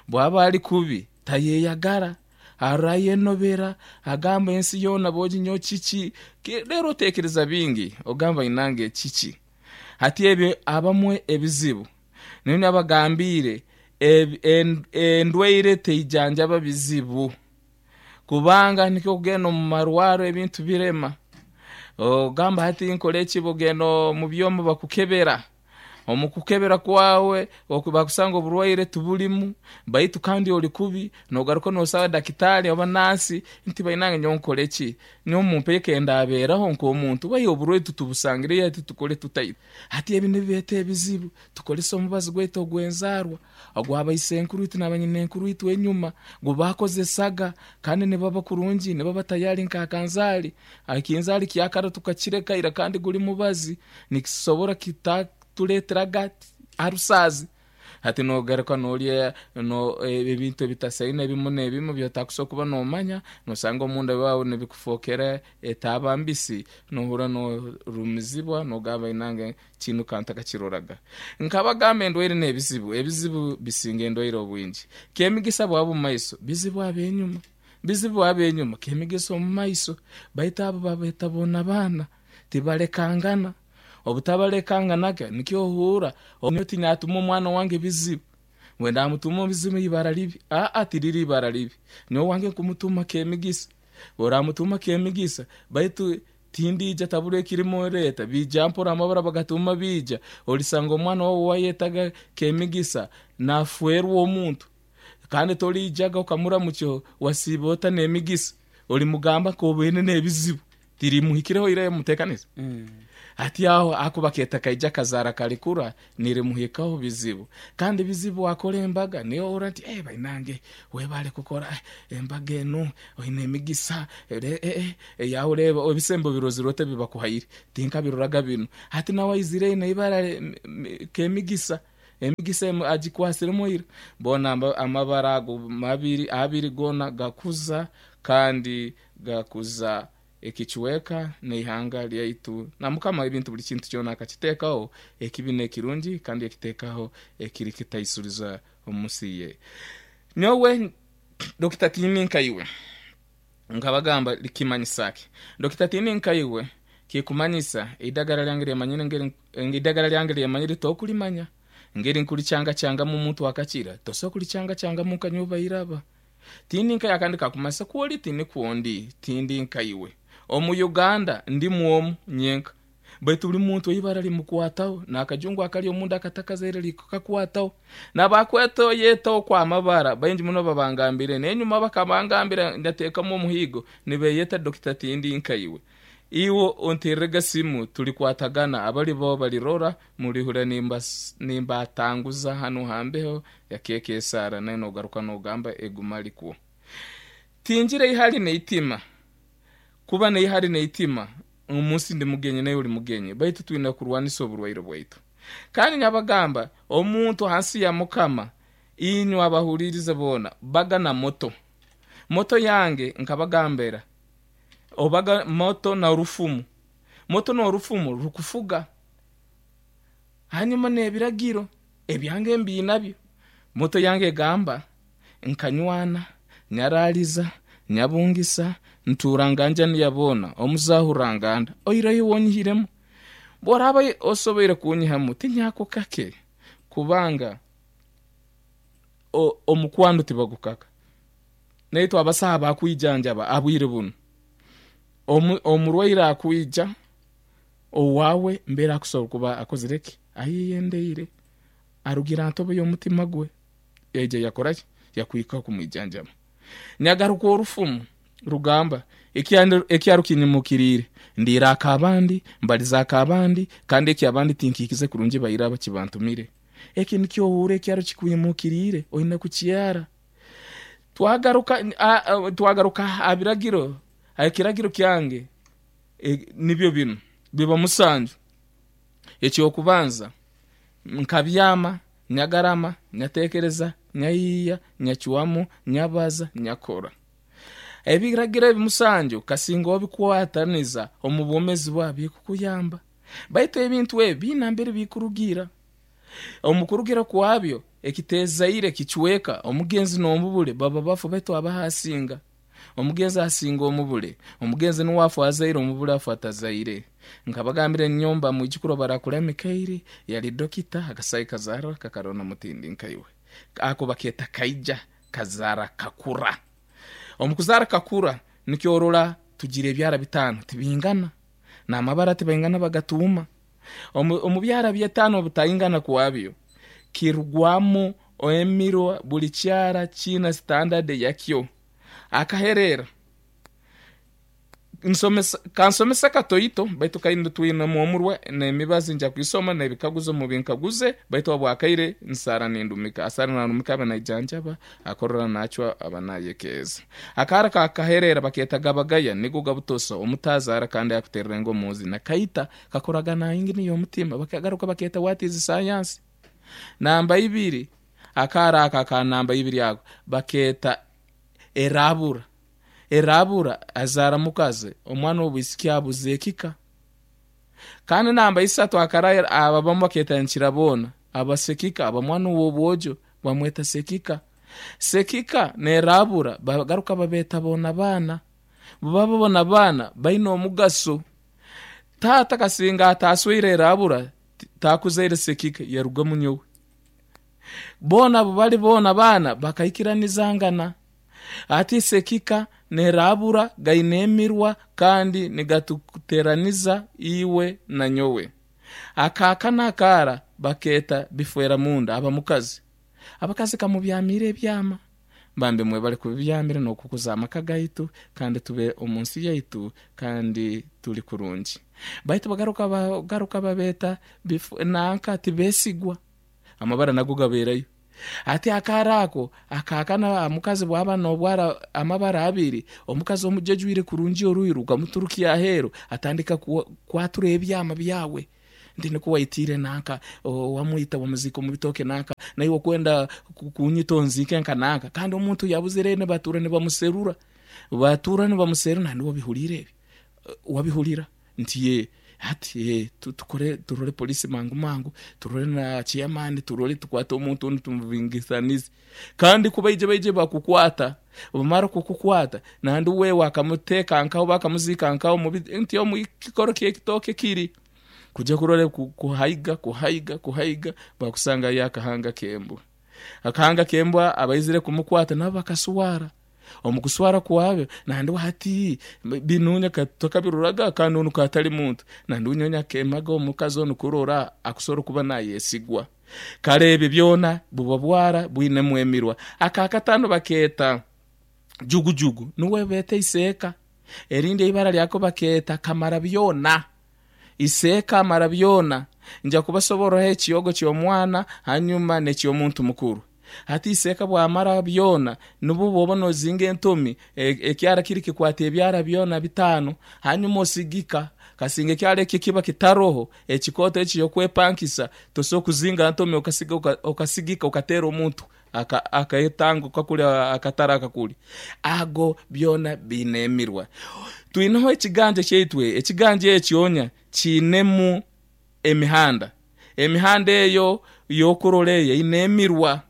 Bwaba ari kubi tayeyagara, arora ayenobera, agamba ensi yoona boogi nyowe kiki? Reero oteekereza bingi ogamba inange kiki? Hati ebyo abamwe ebizibu. Nyowe nabagambiire endwaire teijanjaba bizibu. Kubanga nikyo okugenda omu marwaro ebintu birema. Ogamba hati nkore ki? Bogenda omu byoma bakukebera. Omu kukebera kwawe bakusanga oburwaire tiburimu baitu kandi ori kubi, nogaruka nosaba dakitaali oba naasi nti bainange nyowe nkore ki? Nyowe mumpe ekendabeeraho nk'omuntu baitu oburwaire titubusangire hati tukore tuta itwe? Hati ebi nibireeta ebizibu, tukorese omubazi gwaitu ogw'enzaarwa ogwa baisenkuru itwe na banyinenkuru itwe enyuma gu baakozesaga kandi nibaba kurungi, nibaba tayari nk'akanzaari. Ekinzaari kya kara tukakireka ira kandi guri mubazi nikisobora kitatuleeteraga arusaazi. Hati nogaruka norya ebintu ebitasaine ebimu n'ebimu ebi otakusobora kuba nomanya, nosanga omunda waawe nibikufookera etaaba mbisi, nohurra norumizibwa nogamba inange kinu ka ntakakiroraga. Nkabagamba endwaire n'ebizibu, ebizibu bisinga endwaire obwingi. Kemigisa bwaba omu maiso, bizibu ab'enyuma. Bizibu ab'enyuma kemigisa omu maiso, baitu abo babeeta boona baana, tibalekangana. Obutabalekanganaga nikyo ohuura nyowe tinyatuma omwana wange bizibu, mbwenu ndamutuma obizibu ibara ribi. Aa, tiriri ibara ribi, nyowe owange nkumutuma kemigisa. Oramutuma kemigisa, baitu tindiija tabura ekirimu reeta, biija mpora amabara bagatuma biija, orisanga omwana wawe owayetaga kemigisa nafwerwa omuntu. Kandi toriijaga okamuramukya wasiiba ota n'emigisa, orimugamba nk'obaine n'ebizibu. Tirimuhikireho ira yamuteekaniza? Hati aho ahakuba keeta kaija kazaara karikura, nirimuhikaho bizibu. Kandi bizibu wakora embaga, niyo ohurra nti eh bainange webale kukora embaga enu, oine emigisa, eh eh eh, oreeba ebisembo birozire ota ebi bakuhaire, tinkabiroraga binu. Hati nawe aizire aine ibara k'emigisa. Emigisa emu agikwatsiremu ira. Boona amabara ago mabiri abiri goona gakuza kandi gakuza ekicweka n'eihanga lyaitu. Na Mukama ebintu buri kintu kyona akakiteekaho ekibi n'ekirungi kandi yakiteekaho ekiri kitaisuriza omu nsi ye. Nyowe Dokita Tiini Nkaiwe nkabagamba likimanyisa ki? Dokita Tiini Nkaiwe kikumanyisa eidagala lyange lyemanyire ngeri Eidagala lyange lyemanyire tokulimanya, ngeri nkulikyangakyangamu omuntu akakira, tosobola kulikyangakyangamu nka nyowe bairaba. Tindi nka akandi kakumanyisa ku ori tinikwo ndi, tindi nka iwe. Omu Uganda ndimu omu nyenka. Baitu buri muntu eibara limukwataho, n'akajungu akari omunda akatakazaire likakwataho. N'abakwetoyeta okwo amabara baingi muno babangambire, n'enyuma bakabangambira nyateekamu omuhiigo nibeyeta Dokita tindi nka iwe. Iwe ontererege simu tulikwatagana, abalibaho balirora, mulihurira nimbatanguza hanu ha mbeho ya KKSR nawe nogaruka nogamba eguma likwo. Tingira eihari n'eitima, kuba n'eihari n'eitima omu nsi ndi mugenyi naiwe oli mugenyi, baitu twine kurwanisa oburwaire bwaitu. Kandi nyabagamba omuntu hansi ya Mukama, inywe abahulirize boona, baga na moto. Moto yange nkabagambira Obaga moto na orufumu. Moto n'orufumu rukufuga. Hanyuma n'ebiragiro ebyange mbiinabyo. Moto yange egamba, Nkanywana, nyaraaliza, nyabungisa, ntuura nganjani ya boona, omuzaahu Ranganda. Oireyo wonyihiremu. Bw'oraaba osoboire kunyihamu, tinyako kake, kubanga omukwano tibagukaka. Naitwe abasaho abakwijanjaba ha bwire bunu, omurwaire akwija, Owaawe mbere akusobola kuba akozire ki? Ayeyendeire, arugire aha ntobo y'omutima gwe, yaija yakora ki? Yakwikaho kumwijanjaba. Nyagaruka orufumu rugamba, Ekyaro kinyimukiriire, ndiire ak'abandi, mbalize ak'abandi, kandi eky'abandi tinkihikize kurungi baire aba kibantumire. Eki nikyo ohuura ekyaro kikwimukiriire, oine kukyara. Twagaruka twagaruka aha biragiro, aha kiragiro kyange nibyo binu, biba musanju. Eky'okubanza, nkabyama, nyagarama, nyatekereza, nyayiiya, nyacwamu, nyabaza, nyakora. Ebiragiro ebi musanju kasinga obikwataniza omu bwomezi bwawe bikukuyamba. Baitu ebintu ebi biine nambere bikurugiira. Omu kurugira kwabyo, ekitezaire kicweka, omugenzi n'omubule baba bafu baitu abaho asinga. Omugenzi asinga omubule. Omugenzi nuwe afa azaire, omubule afa atazaire. Nkabagambira enyomba mwijukuru obarakura Mikairi yali dokita, akasai kazara kakarona mutindi nkaiwe. Ako baketa kaija kazara kakura. Omu kuzara kakura nikyo orora tugira ebyara bitano tibingana, n'amabara tibaingana bagatuuma. Omu byara by'etaano obutaingana kwabyo kirugwamu emirwa buli kyara kiina sitandadi yakyo. Akahereera, Kansomese katoito baitu kaine twinemu omurwa n'emibazi nja kwisoma n'ebikaguzo mubinkaguze baitu habw'akaire nsaara nindumika. Asaara narumika abe naijanjaba akorora nacwa aba nayekeeza. Akaara ka kahereera bakeeta gabagaya nigo gabutosa omutazaara kandi akuterera engo omuzi na kaita kakoraga na ingini y'omutima bakagaruka bakeeta what is science. Namba ibiri akaara ako aka namba ibiri ako bakeeta erabura. Erabura azaara mukazi omwana w'obwisiki abuza ekika. Kandi namba isatu akara abamu bakeeta nkira boona aba sekika aba mwana ow'obwojo bamweta sekika. Sekika n'erabura bagaruka babeeta boona baana. Bubaba bona baana baine omugaso. Taata kasinga atasweire erabura takuzaire sekika yarugamu nyowe. Boona bubali boona baana bakaikiranizangana. Hati sekika n'erabura gaine emirwa kandi nigatuteraniza iwe na nyowe. Akaaka n'akaara bakeeta bifwera munda aba mukazi. Abakazi kamubyamiire ebyama. Bambi mwebale kubibyamira n'okukuza amaka gaitu kandi tube omu nsi yaitu kandi turi kurungi. Baitu bagaruka bagaruka babeeta nanka tibesigwa. Amabara nago gabeerayo. Hati akaara ako akaakana omukazi bwaba nobwara amabara abiri, omukazi omujejwire kurungi oruhi rukamuturukya aheeru atandika kwatura ebyama byawe. Nti nikwo waitiire nanka, wamwita wamuziika omu bitooke nanka, naiwe okwenda kunyita onziike nka nanka. Kandi omuntu yabuzire nibatuura nibamuserura, batuura nibamuserura nandi wabihuriire ebi? Wabihurira? Nti yee. Hati yee, tukore turore polisi mangu mangu, turore na chairman, turore tukwate omuntu onu tumubingisanize. Kandi ku baije baije bakukwata, bamara kukukwata, nandi we wakamuteeka nkaho bakamuziika nkaho omu nti omu kikoro ky'ekitooke kiri. Kuja kurora kuhaiga, kuhaiga, kuhaiga, bakusangayo akahanga k'embwa. Akahanga k'embwa abaizire kumukwata nabo bakaswara. Omu kuswara kwabyo, nandi hati binuunya takabiroraga kandi onu katali muntu. Nandi nyowe akemaga omukazi onu kurora akusobora kuba nayesigwa. Kale ebyo byona buba bwara bwinemu emirwa. Akakatano bakeeta jugujugu nuwe beeta iseeka. Erindi eibara lyako bakeeta kamara byona. Iseeka amara byona. Nja kubasoborraho ekyogo ky'omwana hanyuma n'eky'omuntu mukuru. Hati iseeka bwamara byona, nubwo bwoba nozinga entomi, ekyara kiri kikwata ebyara byona bitano, hanyuma osigika. Kasinga ekyara eki kiba kitaroho, ekikooto eki ky'okwepankisa, tosobora kuzinga ntomi okasigika okateera omuntu aketanga kakuli akatara akakuli. Ago byona biine emirwa. Twineho ekiganja kyaitu, ekiganja ekyo kiinemu emihanda. Emihanda eyo y'okurora eyo eine emirwa.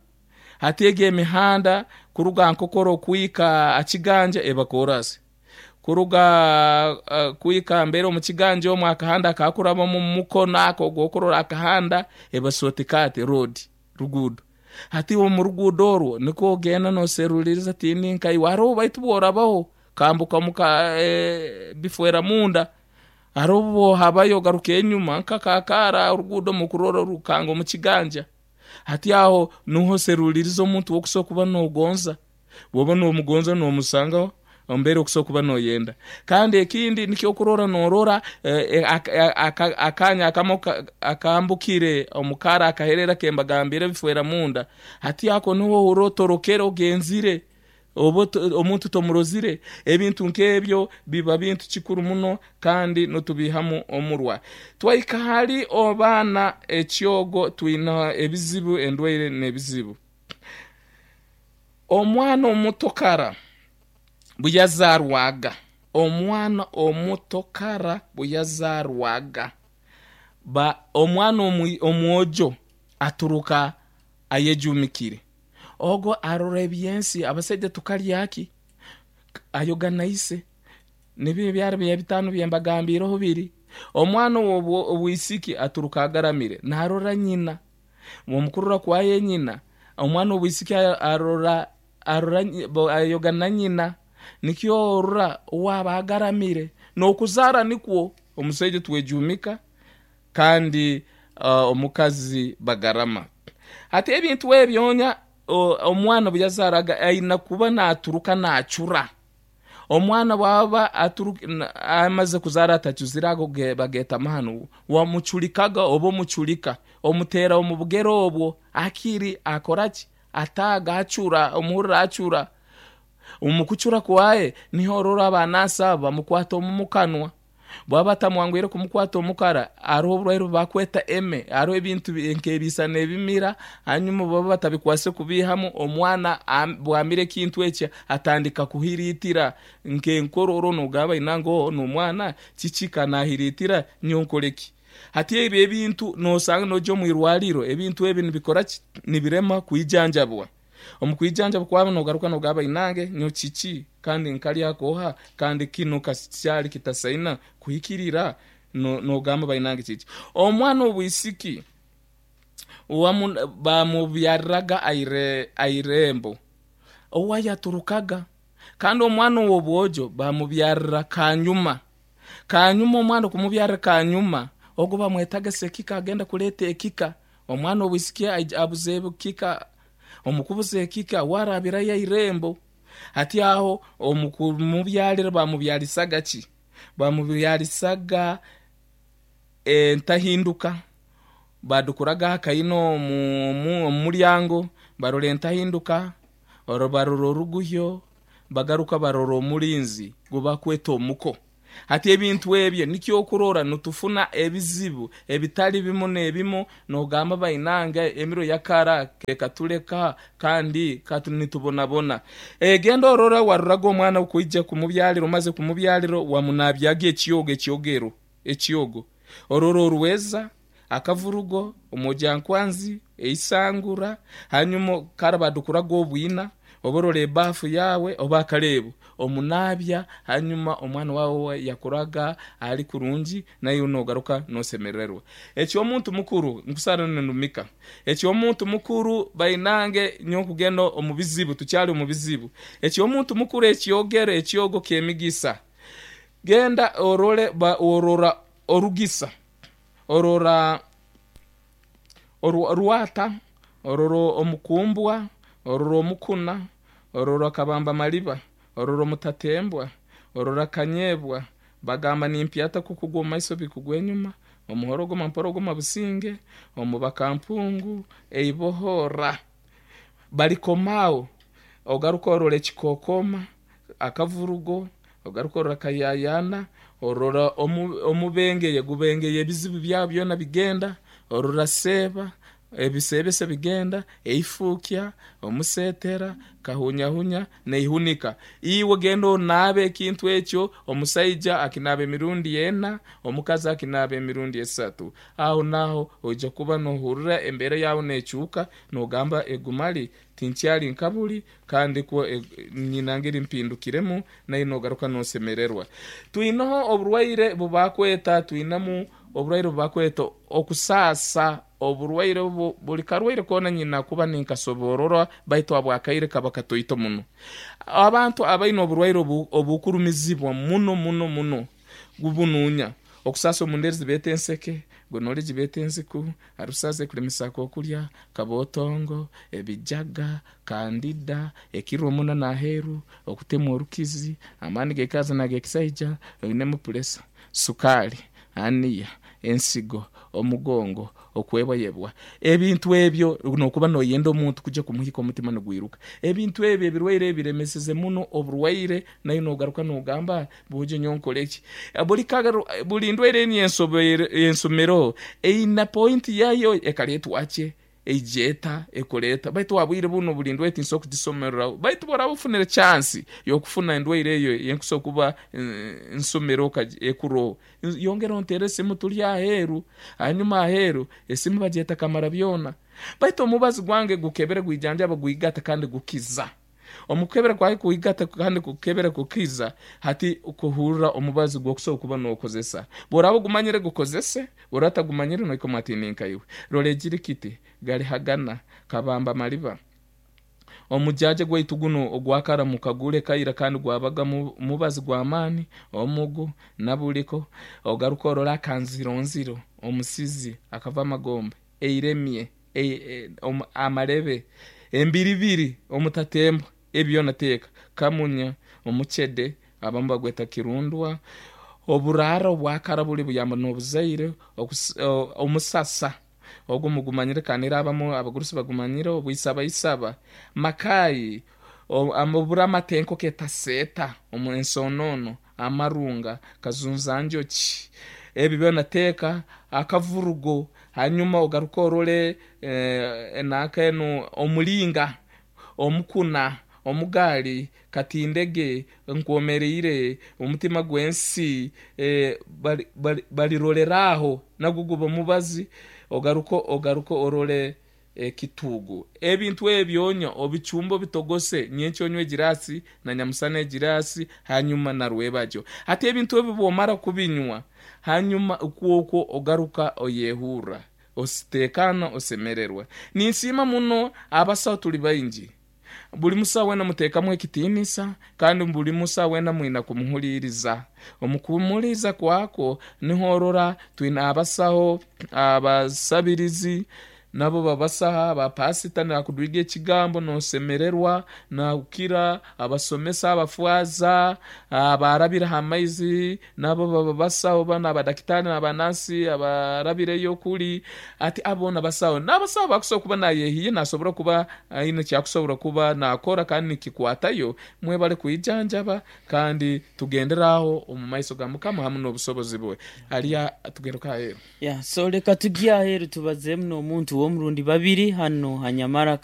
Hati egyo emihanda kuruga Nkokora okuhika aha Kiganja eba koorasi. Kuruga kuhika mbere omu Kiganja omwo akahanda akakurabamu omu mukono ako ogw'okurora akahanda eba shortcut road, ruguudo. Hati omu ruguudo orwo nikwo ogenda noseruliriza tindi nkaiwe. Hariho baitu bworabaho okambuka omu bifwera munda. Hariho obu ohabayo ogaruka enyuma nk'akakaara oruguudo omu kurora orukanga omu kiganja. Hati aho nuho oseruliiriza omuntu w'okusobora kuba noogonza. Bw'oba noomugonza noomusanga omu mbeera okusobora kuba nooyenda. Kandi ekindi nikyo okurora noorora akaanya akamu akambukire omu kaara akaherera akembagambiire ebifwera munda. Hati ako niho ohurra otorokere ogenzire. Oba omuntu tomurozire. Ebintu nk'ebyo biba bintu kikuru muno kandi nitubiihamu omurwa. Twahika hali abaana ekyogo twine ebizibu, endwaire n'ebizibu. Omwana omuto kara buyazarwaga, omwana omuto kara buyazarwaga, ba omwana omwojo aturuka ayejumikire. Ogo arora eby'ensi, abasaija tukalya ki? Ayoga na ise. Nibyo ebyaro bya bitano bye mbagambiireho biri. Omwana ow'obwisiki aturuka agaramire, naarora nyina. Omu kurora kwaye nyina, omwana ow'obwisiki arora arora ayoga na nyina. Nikyo orora owaaba agaramire. N'okuzaara nikwo omusaija twejumika kandi omukazi bagarama. Hati ebintu ebyo omwana obu yazaaraga aine kuba naaturuka naacura. Omwana bwaba amaze kuzaara atacuzire ago bageeta amahano, wamucurikaga oba omucurika, omuteera omu bugere obwo akiri akora ki? Ataaga acura, omuhurira acura. Omu kucura kwaye niho orora abanansi abo bamukwata omu mukanwa. Bwaba batamwangwire kumukwata omukara, hariho oburwaire obu bakweta eme, hariho ebintu nk'ebiisa n'ebimira, hanyuma obu baba batabikwasire kubiihamu, omwana bwamira ekintu eki atandika kuhiriitira nk'enkororo nogamba aina ngu oo n'omwana kiki ka nahiriitira nyowe nkore ki? Hati ebyo ebintu nosanga noija omu irwariro ebintu ebi nibikora ki? Nibirema kwijanjabwa. Omu kwijanjaba kwabo nogaruka nogamba inange nyowe kiki kandi nkalya koha kandi kinu ka kyali kitasaina kuhikirira nogamba bainange kiki. Omwana obwisiki bamubyariraga airembo owayaturukaga kandi omwana owobwojo bamubyarira kanyuma. Kanyuma omwana okumubyarira kanyuma ogu bamwetaga sekika agenda kuleta ekika. Omwana ow'obwisiki abuza ekika, omu kubuza ekika warabirayo eirembo. Hati aho omu kumubyalira bamubyalisaga ki? Bamubyalisaga entahinduka. Badukuraga akaina omu mulyango barora entahinduka, barora oruguhyo, bagaruka barora omulinzi gubakweta omuko. Hati ebintu ebyo nikyo okurora nitufuna ebizibu ebitali bimu n'ebimu nogamba bainange emiro yakara kekatuleka kandi nitubonabona. Genda orore waroraga omwana okwija kumubyalira omaze kumubyalira wamunabyaga ekyogo ekyogero ekyogo orora orweza akavurugo omwojankwanzi eisangura hanyuma kara badukuraga obwina oba orora ebafu yawe oba akareebo omunabya hanyuma omwana wawe yakuraga ari kurungi naiwe nogaruka nosemererwa. Eky'omuntu mukuru nkusara ninumika eky'omuntu mukuru bainange nyowe nkugenda omu bizibu tukyali omu bizibu eky'omuntu mukuru ekyogero ekyogo ky'emigisa genda orore orora orugisa orora orwata, orora omukumbwa, orora omukuna, orora kabamba maliba, orora omutatembwa, orora kanyebwa, bagamba nimpyata kukugwa omu maiso bikugwa enyuma, omuhorogoma mporogoma businge, omubakampungu, eibohora. Balikomao, ogaruka orora ekikokoma, akavurugo, ogaruka orora kayayana, orora omubengeye gubengeye ebizibu byabo byona bigenda, orora seeba, ebiseebese bigenda, eifuukya, omuseetera, kahunyahunya, n'eihunika. Iwe genda onaabe ekintu ekyo, omusaija akinaaba emirundi ena, omukazi akinaaba emirundi esatu. Aho naaho oija kuba nohurira embeera yaawe neekyuka, nogamba egu mali tinkyali nka buri, Kandi kwo nyina ngeri mpindukiremu, naye nogaruka nosemererwa. Twineho oburwaire bubakweta, twinemu oburwaire bubakweta okusaasa, oburwaire obu buri karwaire koona nyina kuba ninkasoborora baitu habw'akaire kaba katoito muno. Abantu abaine oburwaire obu obukurumizibwa muno muno muno gubunuunya. Okusaasa omu ndeeri zibeeta enseke, gonoore gibeeta enziku, arusaza ekuremesa akokurya, kabootongo, ebijaga, kandida, ekirwa n'aheeru, okutemwa orukizi, amaani g'ekikazi n'ag'ekisaija, oinemu puresa, sukaali, aniya, ensigo, omugongo, okwebwayebwa. Ebintu ebyo n'okuba nooyenda omuntu kuja kumuhika omutima nigwiruka. Ebintu ebyo ebirwaire ebi biremeseze muno oburwaire naiwe noogaruka noogamba bwojo nyowe nkore ki? Buri buri ndwaire eni ensomereho eine pointi yaayo ekareetwa ki? Eija eta, ekora eta? Baitu aha bwire bunu buri ndwaire tinsobola kugisomereraho. Baitu obu oraaba ofunire chansi y'okufuna endwaire eyo ei nkusobola kuba nsomereho ekuroho, yongera onteere esimu turi aheeru. Hanyuma aheeru esimu bagyeta kamara byona. Baitu omubazi gwange gukebera gwijanjaba gwigata kandi gukiza. Omu kukebera kwawe kwigata kandi kukebera kukiza, hati kuhurra omubazi gw'okusobora kuba n'okozesa. Bw'oraaba ogumanyire gukozese, bw'oraaba otagumanyire nohika omu atiini nka iwe. Rora egirikiti, Galihagana, Kabamba Maliba. Omujaaja gwaitu gunu ogwa kara mukagure kaira kandi gwabaga mubazi gw'amaani, omugu, nabuliko. Ogaruke orole akanzironziro, omusizi, akava amagombe, eiremye, amarebe, embiribiri, omutatembwa, ebi byona teeka, kamunya, omucede, abamu bagweta kirundwa, oburaara obwakara buri buyamba n'obuzaire, omusasa, ogu mugumanyire kandi era abamu abagurusi bagumanyire, obwisabaisaba, makayi, obura amatenko ketaseeta, ensonoono, amarunga, kazunzanjoki, ebi byona teeka akavurugo hanyuma ogaruke orole nanka enu omulinga, omukuna, omugaali, katindege, nkwomereire, omutima gw'ensi, barirorera aho nagwo guba omubazi, ogaruke ogaruke orole ekituugu. Ebintu ebyo onywa obicumbe obitogose, nyenkya onywe egiraasi na nyamusana egiraasi hanyuma na rwebagyo. Hati ebintu ebi bwomara kubinywa, hanyuma kwokwo ogaruka oyehurra ositeekaana osemererwa. Ninsiima muno abasaho tuli baingi. Buli musaho weena muteekamu ekitiinisa kandi buli musaho weena mwina kumuhuliiriza. Omu kumuhuliiriza kwakwo niho orora twine abasaho, abasabirizi nabo babasaho, abapaasita naakudwiga ekigambo noosemererwa, naakukira, abasomesa, abafaaza, abaarabire ha maizi nabo baba basaho, banu abadakitaari n'abanansi abarabireyo kuri ati abo boona basaho. N'abasaho bakusobora kuba nayehiye nasobora kuba aine ekyakusobora kuba nakora kandi nikikwatayo. Mwebale kwijanjaba kandi tugendere aho omu maiso ga Mukama hamu n'obusobozi bwe. Hariya tugaruke aheeru. Yeah, so leka tugye aheeru tubazeemu n'omuntu w'omurundi babiri hanu ha Nyamara.